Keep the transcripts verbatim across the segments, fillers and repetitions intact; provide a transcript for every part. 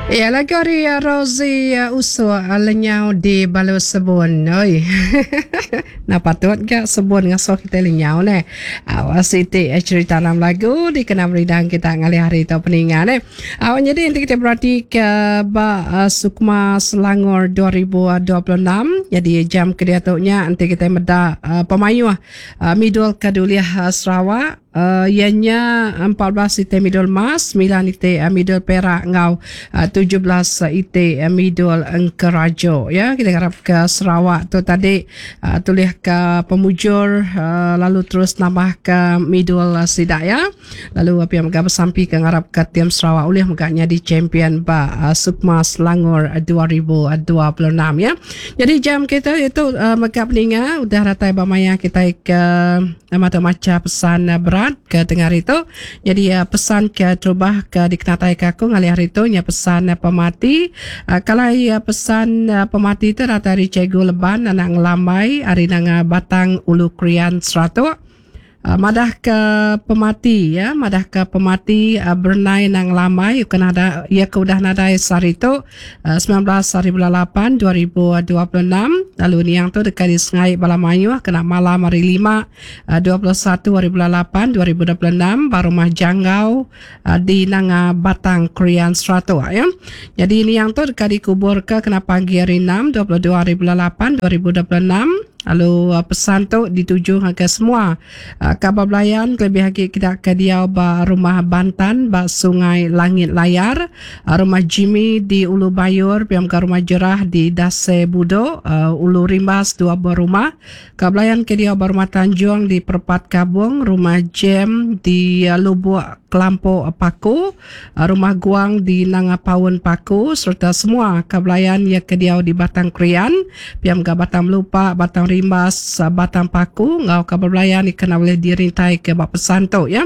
Iya lagu ari Rosie Usuk lenyau di balu sebun. Oi. Nah patut ga sebun ngasuh kitai lenyau neh. Au siti cerita dalam lagu dikena meridang kita ngalih hari tu peninga neh. Au nyadi enti kitai berati ke ba Sukma Selangor dua ribu dua puluh enam nyadi jam ke diatu nya enti kitai meda pemayuh midul ke diulih Sarawak iya nya empat belas iti midul emas, semilan iti midul perak enggau tujuh belas iti midul engkerajo. Ya, kita ngarap ke Sarawak tu tadi tulih ke pemujur lalu terus nambah ke midul sida ya. Lalu pia mega besampi ke ngarap ke tim Sarawak ulih mega nyadi champion ba Sukma Selangor dua ribu dua puluh enam ya. Jadi jam kita itu mega peninga udah datai ba maya kita ke mata macha pesan berat ke tengah hari tu. Jadi pesan ke terubah ke dikenatai ke aku ngalih hari tu nya pesan pemati. Kalau pesan pemati tu datai ari Cikgu Leban anak Ngelambai ari Nanga Batang Ulu Krian Seratok. Madah ke pemati ya, madah ke pemati Brunei Nang Lamai kena ada ia ke udah nadai sehari tu sembilan belas hari bulan lapan dua ribu dua puluh enam lalu niang tu dekat di Sengai Bala Mayuh kena malam hari lima dua puluh satu hari bulan lapan dua ribu dua puluh enam ba rumah Janggau di Nanga Batang Krian Seratok ya. Jadi niang tu dekat dikubur ke kena pagi hari enam dua puluh dua hari bulan lapan dua ribu dua puluh enam. Lalu pesan tu dituju ngagai semua kaban belayan kelebih agi kita ke diau ba rumah Bantan ba Sungai Langit Layar, rumah Jimmy di Ulu Bayur, pia mega rumah Jerah di Dase Budok, Ulu Rimbas dua buah rumah, kaban belayan ke diau ba rumah Tanjung di Perpat Kabung, rumah Jem di Lubuk Kelampok Paku, rumah Guang di Nanga Paun Paku serta semua kaban belayan ia ke diau di Batang Krian, pia mega Batang Melupa, Batang Rimbas, Batang Paku ngau kaban belayan kena boleh dirintai ke ba pesan tu ya.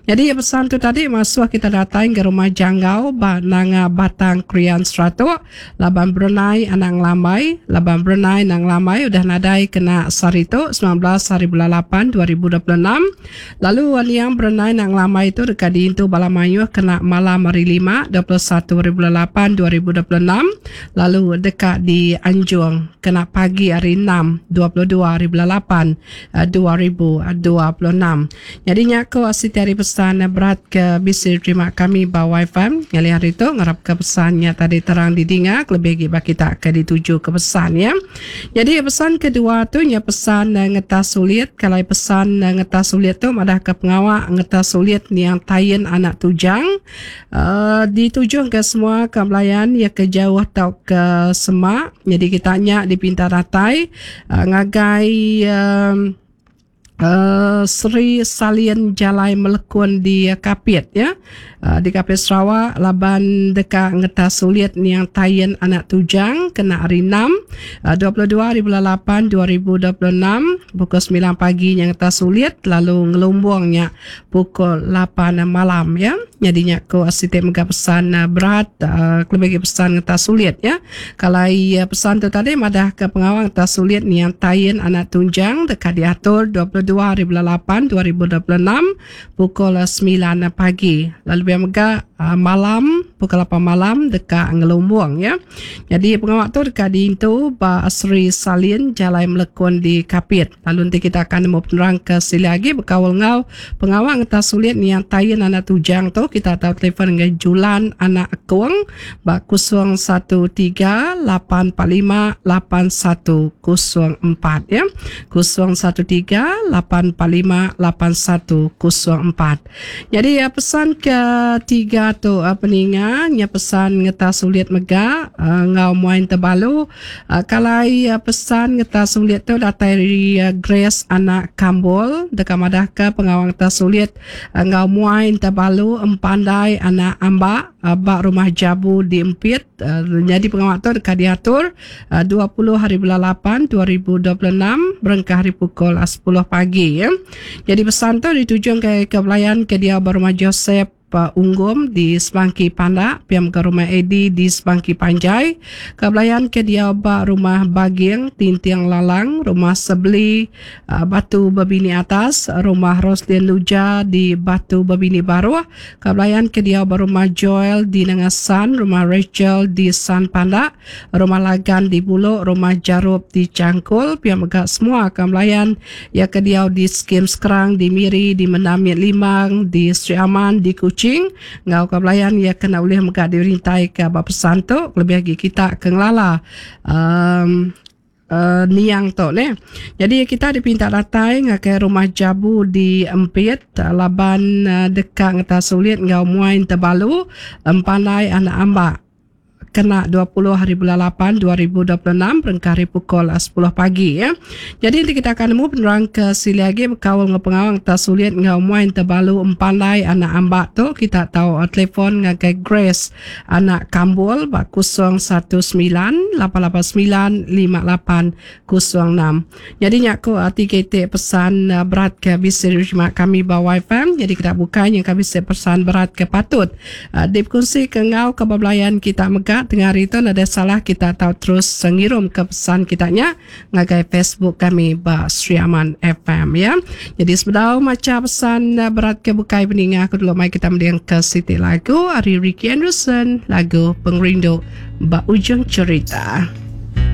Jadi pesan tu tadi masuk kita datai ke rumah Janggau ba Nanga Batang Krian Seratok, Laban Brunei anak Ngelambai, Laban Brunei anak Ngelambai udah nadai kena sehari tu sembilan belas hari bulan lapan dua ribu dua puluh enam. Lalu niang Brunei anak Ngelambai tu dekat diintu bala mayuh kena malam hari lima dua puluh satu hari bulan lapan dua ribu dua puluh enam lalu dekat di Anjung kena pagi hari enam dua puluh dua hari bulan lapan dua ribu dua puluh enam. Jadi nya ko siti hari pesan berat ke bisi terima kami ba Wi-Fi ngalih hari tu ngarap ke pesannya tadi terang didinga lebih lagi ba kita ke dituju ke pesan ya. Jadi pesan kedua tu nya pesan ngetas sulit. Kalau pesan ngetas sulit tu madah ke pengawak ngetas sulit niang Tayin anak Tujang uh, dituju ke semua ke belayan ya ke jauh atau ke semak. Jadi kita nya dipinta datai uh, ngagai um, Uh, Seri Salin Jalai Melekun di Kapit ya. Uh, di Kapit Sarawak laban deka ngetas sulit niang Tayin anak Tujang kena hari enam uh, dua puluh dua hari bulan lapan dua ribu dua puluh enam pukul sembilan pagi yang ngetas sulit lalu ngelumbungnya pukul lapan malam ya. Jadi nya ko siti mega pesan uh, berat uh, lebih pesan ngetas sulit ya. Kalau uh, pesan tu tadi madah ke pengawang ngetas sulit niang Tayin anak Tunjang deka diatur dua puluh dua hari bulan lapan dua ribu dua puluh enam pukul sembilan pagi. Lalu biar mega uh, malam pukul lapan malam dekat ngelumbung ya. Jadi pengawak tu dekat diintu ba Seri Salin Jalai Melekun di Kapit. Lalu nanti kita akan nemu penerang ke sila lagi berkawal ngau pengawak ngetas sulit niang Tayin anak Tujang tu kita tahu telefon dengan Julan anak Akung ba kosong satu tiga lapan empat lima lapan satu kosong empat ya. kosong satu tiga lapan empat lima lapan satu kosong empat. Jadi ya, pesan ketiga tu peninga nya pesan ngetas sulit mega uh, ngau muain terbalu. Uh, kalau ya, pesan ngetas sulit tu datai dari uh, Grace anak Kambol dekat madah ke pengawang ngetas sulit uh, ngau muain terbalu empandai anak Ambak uh, bak rumah Jabu di Empit. Uh, jadi pengawak tu dekat diatur uh, dua puluh hari bulan lapan dua ribu dua puluh enam berengkah hari pukul sepuluh pagi ya. Jadi pesan tu ditujukan ke ke belayan ke dia rumah Joseph Unggom di Sebangki Pandak, pia mega Rumah Eddie di Sebangki Panjai, ka belayan ke diau ba Rumah Baging, Tinting Lalang, Rumah Sebeli, Batu Bebini Atas, Rumah Roslin Luja di Batu Bebini Baruh, ka belayan ke diau ba Rumah Joel di Nanga San, Rumah Rachel di San Pandak, Rumah Lagan di Bulok, Rumah Jarup di Changkul, pia mega semua ka belayan iya ke diau di Skim Skrang, di Miri, di Mendamit Limbang, di Sri Aman, di Kuching enggau ka belayan iya ke enda ulih mega dirintaika ba pesan tu kelebih agi kita ke ngelala um niang tu neh. Nyadi kita dipinta datai ngagai Rumah Jabu di Empit laban deka ngetas ulit enggau muai Tebalu Empandai Anak Ambak. Kena dua puluh hari bulan lapan dua ribu dua puluh enam berengkah ari pukul sepuluh pagi. Nyadi enti kita akan nemu penerang ke silih agi bekaul enggau pengawa ngetas sulit enggau muai Tebalu Empandai Anak Ambak tu kita tau telefon ngagai Grace Anak Kambul ba kosong satu semilan lapan lapan semilan lima lapan kosong enam. Nyadi nya ku tiga iti pesan berat ke bisi diterima kami ba Y F M. Nyadi kita bukai nyengka bisi pesan berat ke patut dipekunsi ke enggau ke bebelayan kita mega tengah hari tu nadai salah kita tau terus ngirum ke pesan kita nya ngagai Facebook kami ba Sri Aman F M ya. Jadi sebedau macha pesan berat ke bukai peninga aku dulu mai kita mending ke siti lagu ari Ricky Anderson, lagu Pengerindu ba Ujung Cerita.